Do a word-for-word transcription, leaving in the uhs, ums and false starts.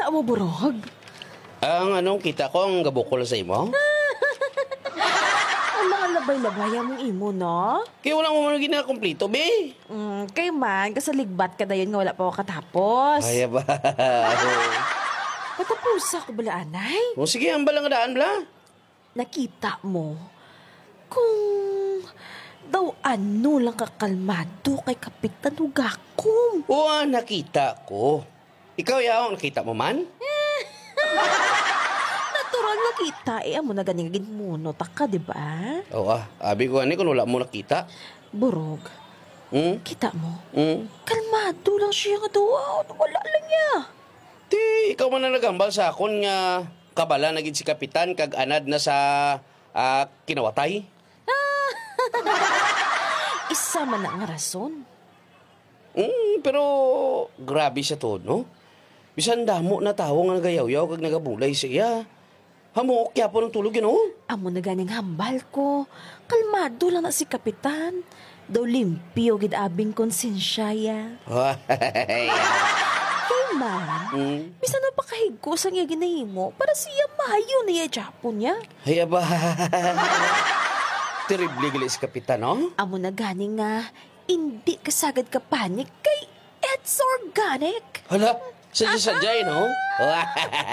Amo, Burog? Ang anong kita ko ang gabukol sa imo? Ang mga labay-labay among imo, no? Kaya wala mo man ginakompleto, be. Mm, kay man, kasaligbat ka dayon nga wala pa ako katapos. Ay, aba. Katapusa ko bala, anay? O, sige, ang balang daan, bala. Nakita mo? Kung daw ano lang kakalmado kay Kapitan Hugakom. O, ah, nakita ko. Ikaw, yaw, nakita mo man? Natural nga kita, eh, amo na gani nga ginmuno ta ka, di ba? Oo, ah. Abi ko gani kung wala mo nakita. Burog. Hmm? Kita mo? Hmm? Kalmado lang siya nga daw, ah, wala lang niya. Ti, ikaw man ang naghambal sa akon nga kabala na gid si Kapitan kag anad na sa, ah, kinawatay. Isa man na nga rason. Mm, pero grabe siya to, no? Bisan damo na tawo nga nagayawyaw kag nagabulay sa iya. Hamuok gyapon ang tulog, you know? Amo na ganing hambal ko. Kalmado lang na si Kapitan. Daw limpyo gid abing konsensya ya. Kay man, Mm. bisan mapakahigko sang iya ginahimo, para siya maayo na iya gyapon niya. Ay, aba. Terrible gali si Kapitan, no? Amo na gani nga, hindi ka sagad ka panic kay it's organic. Hala, sadya-sadya, eh, no?